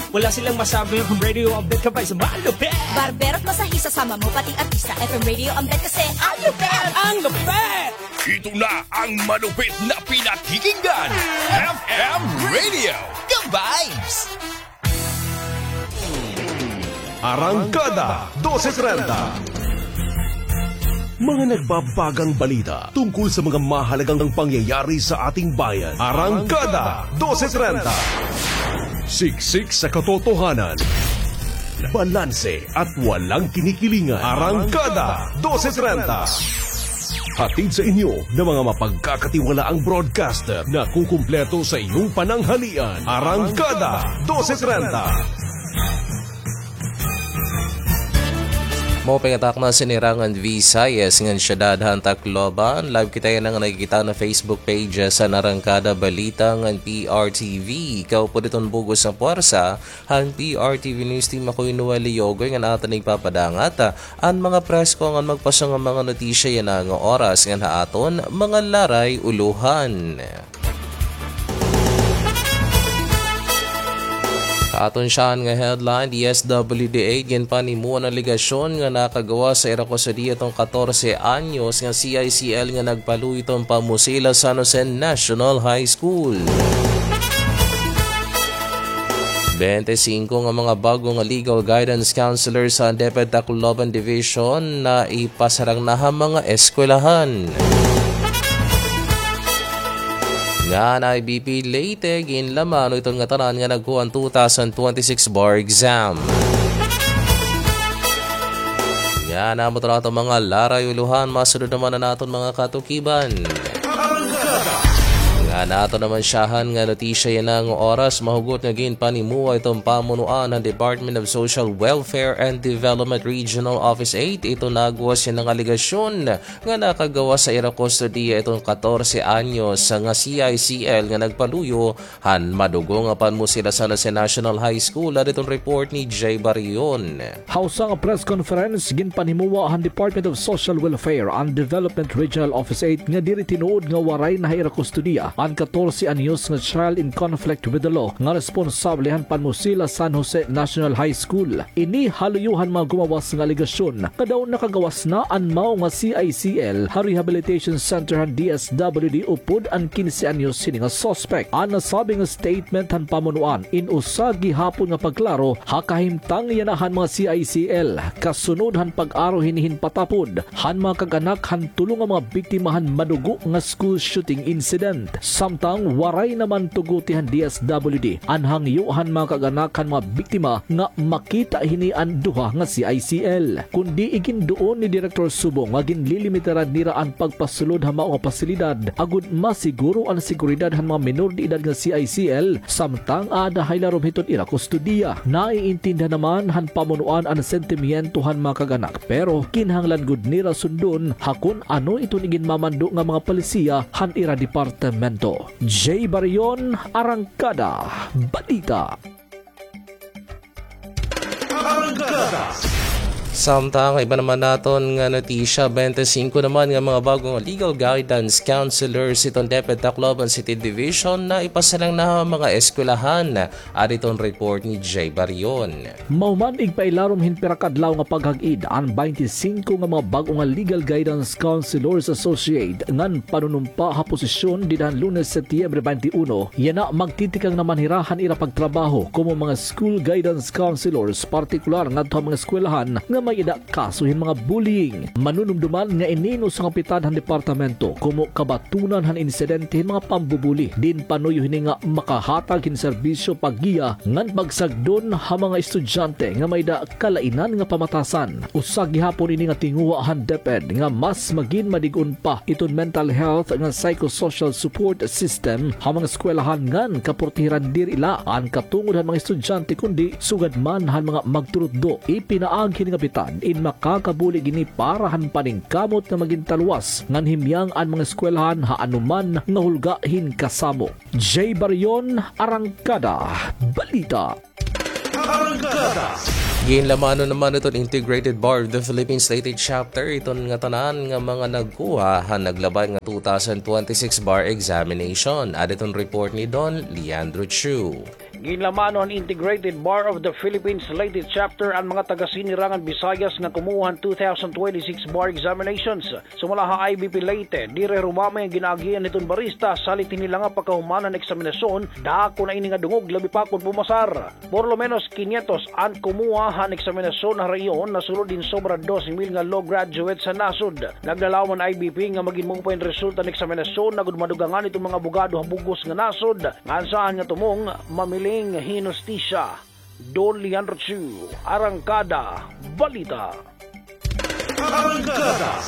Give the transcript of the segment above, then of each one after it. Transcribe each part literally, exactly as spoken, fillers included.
Wala silang masabi, F M Radio ang bet ka ba sa malupit? Barbero at masahista, sama mo pati artista. F M Radio ang bet kasi ang lupit! Ang lupit! Ito na ang malupit na pinakikinggan. F M Radio, ka-vibes! Arangkada, dose trenta. Mga nagbabagang balita tungkol sa mga mahalagang pangyayari sa ating bayan. Arangkada, dose trenta. Siksik sa katotohanan. Balanse at walang kinikilingan. Arangkada, dose trenta. Hatid sa inyo ng mga mapagkakatiwalaang broadcaster na kukumpleto sa iyong pananghalian. Arangkada, dose trenta. Maupay nga takna, sinirangan Visayas ngan syudad han Tacloban. Live kita yana nga nakikita na Facebook page han Arangkada Balita ngan P R T V. Kaupod iton bug-os nga puwersa han P R T V News Team, ako'y Noel Leogoy ngan aton igpapadangat an mga presko ngan magpaso nga mga notisya yana nga oras ngan ha aton mga laray ulohan. Aton siyahan nga headline, D S W D eight ginpanimuan an alegasyon nga nakagawas sa ira kustodiya iton katorse anyos nga C I C L nga nagpaluyo iton pamusil ha San Jose National High School. Bente singko nga mga bag-o nga legal guidance counselors han DepEd Tacloban Division na ipasarang na ha mga eskwelahan. Ngan I B P Leyte, ginlamano iton ngatanan nga nagkuha han two thousand twenty-six bar exam. Ngan amo ito an aton mga laray ulohan, masunod naman an aton mga katukiban. Ngan aton naman siyahan nga notisya yana nga oras, mahugot nga ginpanimuwa iton pamunuan han Department of Social Welfare and Development Regional Office eight iton nagwas yana nga alegasyon nga nakagawas sa ira kustodiya iton katorse anyos nga C I C L nga nagpaluyo han madugo nga panmusil ha San Jose National High School. Adi iton report ni Jay Barion. Ha usa nga press conference, ginpanimuwa han Department of Social Welfare and Development Regional Office eight nga diri tinuod nga waray na ha ira kustodiya an katorse anyos nga child in conflict with the law nga responsable han panmusil ha San Jose National High School. Ini ha luyo han mga gumawas nga alegasyon nga daw nakagawas na an mao nga C I C L ha Rehabilitation Center han D S W D upod an kinse anyos hini nga suspect. An nasabi nga statement han pamunuan in usa gihapon nga pagklaro ha kahimtang yana han mga C I C L kasunod han pag-aro hini hin patapod han mga kag-anak han tulo nga mga biktima han madugo nga school shooting incident. Samtang waray naman tuguti han D S W D an hangyo han mga kag-anak han mga biktima nga makita hini an duha nga C I C L. Kundi iginduon ni Director Subong nga ginlilimitaran nira an pagpasulod ha mao nga pasilidad agod masiguro an seguridad han mga menor de edad nga C I C L, samtang aada ha ilarom hiton ira kustodiya. Naiintindihan naman han pamunuan an sentimiento han mga kag-anak, pero kinahanglan gud nira sundon ha kon ano iton iginmamando nga mga palisiya han ira departamento. Jay Barion, Arangkada Balita. Samtang iba naman naton nga notisya, bente singko naman nga mga bag-o nga legal guidance counselors hiton DepEd Tacloban City Division na ipasarang na ha mga eskwelahan. Adi iton report ni Jay Barion. Mahuman igpailarom hin pira ka adlaw nga paghag-id, an baynte singko nga mga bag-o nga Legal Guidance Counselors Associate ngan panunumpa ha posisyon dida han Lunes, Setyembre baynte uno, yana magtitikang naman hira han ira pagtrabaho komo mga school guidance counselors, partikular ngadto ha mga eskwelahan nga may-ada kaso hin mga bullying. Manunumduman nga ini in usa nga pitad han departamento komo kabatunan han insidente hin mga pambubuli, diin panuyo hini nga makahatag hin serbisyo, paggiya ngan pagsagdon ha mga estudyante nga may-ada kalainan nga pamatasan. Usa gihapon ini nga tinguha han DepEd nga mas magin madig-on pa iton mental health ngan psychosocial support system ha mga eskwelahan ngan kaportehiran diri la an katungod han mga estudyante kundi sugad man han mga magturutdo. Ipinaagi hini nga pitad in makakabulig ini para han paningkamot nga magin taluwas ngan himyang an mga eskwelahan ha anoman nga hulga hin kasamo. Jay Barion, Arangkada Balita. Arangkada. Ginlamanon naman iton Integrated Bar of the Philippines Leyte Chapter iton ngatanan nga mga nagkuha han naglabay nga two thousand twenty-six bar examination. Adi iton report ni Don Leandro Chu. Ginlamano han Integrated Bar of the Philippines Leyte Chapter an mga taga-Sinirangan Visayas nga kumuha han two thousand twenty-six bar examinations. Sumala ha I B P Leyte, diri rumamay an ginaagian hiton barista, salit hini la nga pagkahuman han eksaminasyon, dako na ini nga dungog, labi pa kon pumasar. Por lo menos quinientos an kumuha han eksaminasyon ha rehiyon, nasulod hin sobra dos mil nga law graduates han nasod. Naglalaom an I B P nga magin maupay an resulta han eksaminasyon, agod madugangan iton mga abogado ha bug-os nga nasod, ngan saan nga tumong mamiling hin hustisya. Don Leandro Chu, Arangkada Balita. Arangkada.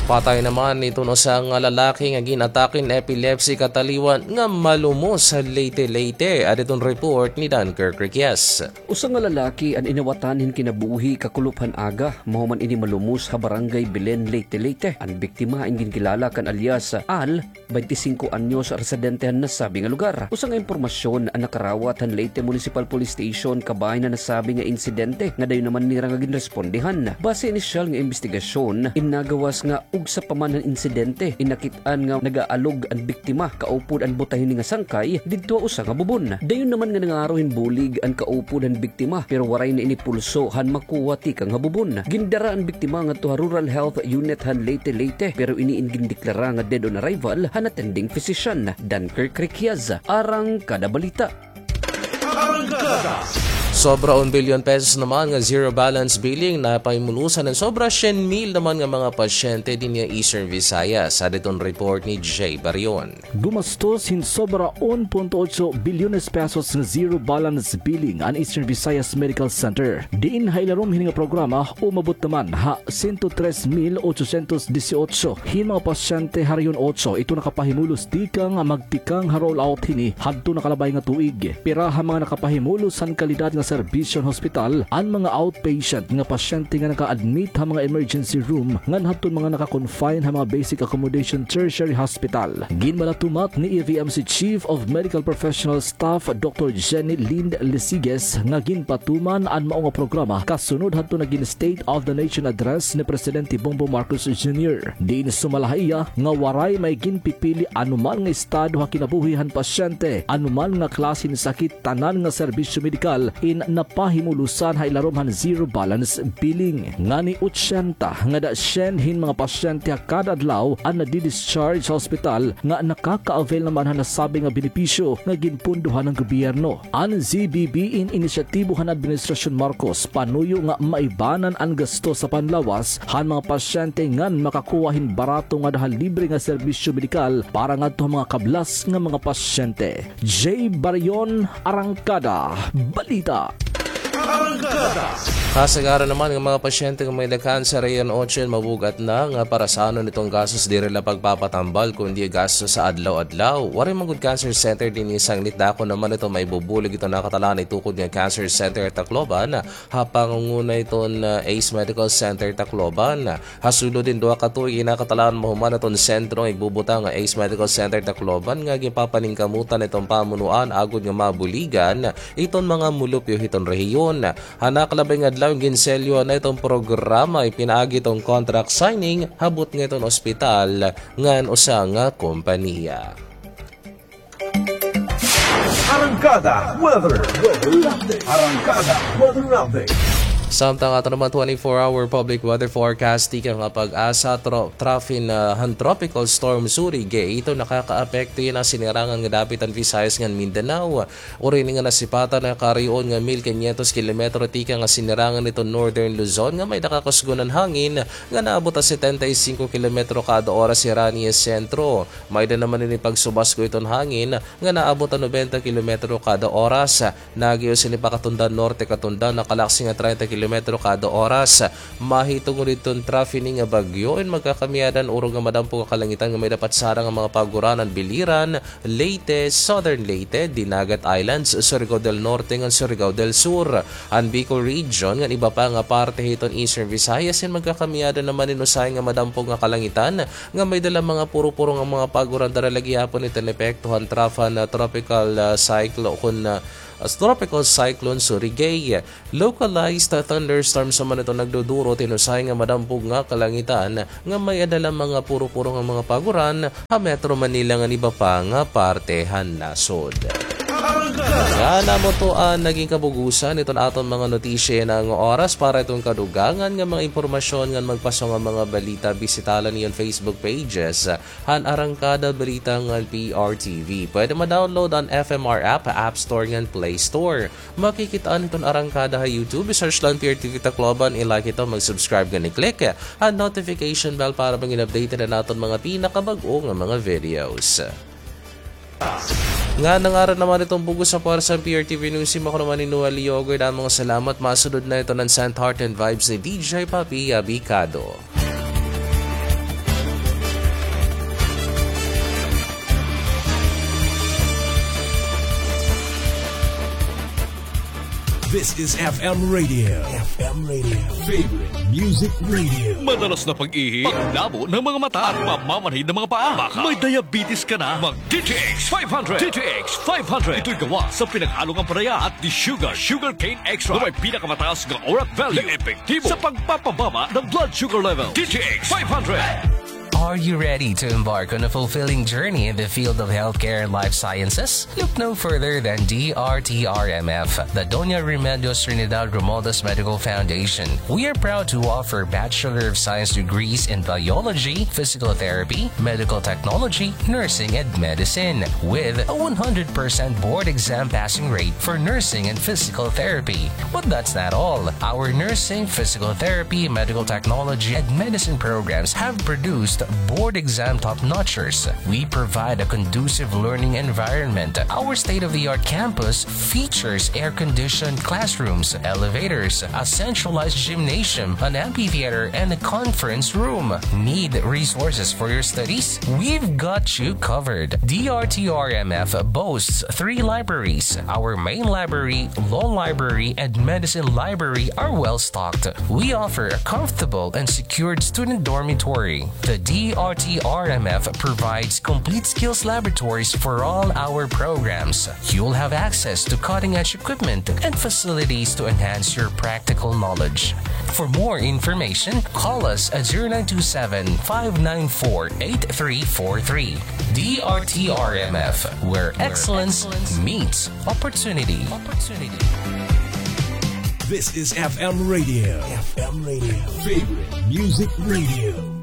Patay naman iton usa nga lalaki nga gin-atake hin epilepsy kataliwan nga malumos ha Leyte, Leyte. Adi iton report ni Dunkirk Requies. Usa nga lalaki an inawatan hin kinabuhi kakulop han aga, mahuman ini malumos ha Barangay Belen, Leyte, Leyte. An biktima an ginkilala kan alias Al, twenty-singko anyos, residente han nasabi nga lugar. Usa nga impormasyon an nakarawat han Leyte Municipal Police Station kabahin han nasabi nga insidente nga dayon naman nira nga ginrespondihan. Base inisyal nga imbestigasyon, in nagawas nga ugsa pa man han insidente, in nakit-an nga nagaalog an biktima kaupod an buta hini nga sangkay didto ha usa nga bubon. Dayon naman nga nangaro hin bulig an kaupod han biktima, pero waray na ini pulso han makuha tikang ha bubon. Gindara an biktima ngadto ha Rural Health Unit han Leyte, Leyte, pero ini in gindeklara nga dead on arrival han attending physician. Dunkirk Requias, Arangkada Balita. Arangkada. Sobra un bilyon pesos naman nga zero balance billing an napahimulusan han sobra syen mil naman nga mga pasyente dinhi ha Eastern Visayas. Adi iton report ni Jay Barion. Gumastos hin sobra un punto otso bilyones pesos nga zero balance billing an Eastern Visayas Medical Center. Diin ha ilarom hini nga programa, umabot naman ha sento tres mil ochocientos dieciocho hin mga pasyente ha Rehiyon Otso iton nakapahimulos tikang magtikang ha rollout hini hadto nakalabay nga tuig. Pira ha mga nakapahimulos han kalidad nga serbisyo han hospital an mga outpatient nga pasyente nga naka-admit ha mga emergency room ngan hadton mga naka-confine ha mga basic accommodation tertiary hospital. Ginmalatumat ni E V M C Chief of Medical Professional Staff Doctor Jenny Lind Lisiges nga ginpatuman an mao nga programa kasunod hadto nga gin-State of the Nation Address ni Presidente Bongbong Marcos Junior. Diin sumala ha iya nga waray may ginpipili anuman nga estado ha kinabuhi han pasyente, anuman nga klase hin sakit, tanan nga serbisyo medikal in napahimulusan ha ilarom han zero balance billing. Ngani otsenta ngada syen hin mga pasyente ha kada adlaw an nadi-discharge ha ospital nga nakaka-avail naman han nasabi nga benepisyo nga ginpundohan han gobyerno. An Z B B in inisyatibo han Administrasyon Marcos panuyo nga maibanan an gastos ha panlawas han mga pasyente ngan makakuha hin barato ngada ha libre nga serbisyo medikal para ngadto ha mga kablas nga mga pasyente. Jay Barion, Arangkada Balita. Arangkada. Kasagaran naman nga mga pasyente nga may-ada cancer ha Rehiyon Otso in mabug-at na nga parasanon iton gastos diri la pagpapatambal kundi gastos sa adlaw-adlaw. Waray man gud cancer center dinhi sanglit, dako naman iton maibubulig iton nakatalaan itukod nga cancer center ha Tacloban ha pangunguna iton, ah, Ace Medical Center Tacloban. Ha sulod hin duha ka tuig in nakatalaan mahuman iton sentro nga igbubutang nga Ace Medical Center Tacloban nga ginpapaningkamutan iton pamunuan agod nga mabuligan iton mga mulupyo hiton rehiyon. Ha nakalabay nga adlaw, ginselyohan na iton programa, ipinaagi iton contract signing ha butnga iton ospital ngan usa nga kompanya. Arangkada Weather. Arangkada Weather Update. Samtang aton naman twenty-four hour public weather forecast tikang ha PAGASA, tro-, trafin, ah, han Tropical Storm Surigae, iton nakakaapekto yana ha sinirangan nga dapit han Visayas ngan Mindanao. Uri ini nga nasipatan ha karion nga mil quinientos kilometro tikang ha sinirangan hiton Northern Luzon nga may-ada kakusgon han hangin nga naabot ha setenta y cinco kilometro kada oras hira ini ha sentro. May-ada naman ini pagsubasgo hiton hangin nga naabot ha nobenta kilometro kada oras. Nag-iyo sini pakatundan norte katundan, nakalaksi nga treinta kilometro kada oras. Mahitungod hiton trafin ini nga bagyo in magkakamiyadan, urog nga madampog nga kalangitan nga may-ada patsara nga mga paguran han Biliran, Leyte, Southern Leyte, Dinagat Islands, Surigao del Norte ngan Surigao del Sur, an Bicol Region ngan iba pa nga parte hiton Eastern Visayas in magkakamiyadan naman hin usahay nga madampog nga kalangitan nga may-ada la mga puro-puro nga mga paguran dara la gihapon iton epekto han trafan, ah, tropical, ah, cyclo-, kun, ah, as Tropical Cyclone Surigae. Localized thunderstorms naman iton nagduduro hiton usahay nga madampog nga kalangitan nga may-ada la mga puro-puro nga mga paguran ha Metro Manila ngan iba pa nga parte han nasod. Ngan amo to an nagin kabug-osan iton aton mga notisya yana nga oras. Para iton kadugangan nga mga impormasyon ngan magpaso nga mga balita, bisita la niyo an Facebook pages han Arangkada Balita ngan P R T V. Pwede ma-download an F M R app ha App Store ngan Play Store. Makikit-an iton Arangkada ha YouTube, i-search la an P R T V Tacloban, i-like ito, mag-subscribe ngan i-click an notification bell para magin updated an aton mga pinakabag-o nga mga videos. Ngan ha ngaran naman iton bug-os nga pwersa han P R T V News Team, ako naman hi Noel Yogurt. Damo nga salamat. Masunod na iton an Sent Heart and Vibes ni D J Papi Abicado. This is F M Radio. F M Radio. Favorite Music Radio. Madalas na pag-ihi, paglabo ng mga mata, at mamamanhid ng mga paa. Baka may diabetes ka na. Mag D T X five hundred. D T X five hundred. Ito'y gawa sa pinag-along ampalaya at desugared sugarcane extract na may pinakamataas na orat value na epektibo sa pagpapababa ng blood sugar level. D T X five hundred. Are you ready to embark on a fulfilling journey in the field of healthcare and life sciences? Look no further than D R T R M F, the Doña Remedios Trinidad Romualdez Medical Foundation. We are proud to offer Bachelor of Science degrees in biology, physical therapy, medical technology, nursing, and medicine, with a one hundred percent board exam passing rate for nursing and physical therapy. But that's not all. Our nursing, physical therapy, medical technology, and medicine programs have produced board exam top-notchers. We provide a conducive learning environment. Our state-of-the-art campus features air-conditioned classrooms, elevators, a centralized gymnasium, an amphitheater, and a conference room. Need resources for your studies? We've got you covered. D R T R M F boasts three libraries. Our main library, law library, and medicine library are well stocked. We offer a comfortable and secured student dormitory. The D R T R M F provides complete skills laboratories for all our programs. You'll have access to cutting-edge equipment and facilities to enhance your practical knowledge. For more information, call us at zero nine two seven, five nine four, eight three four three. D R T R M F, where excellence meets opportunity. This is F M Radio. F M Radio. Favorite Music Radio.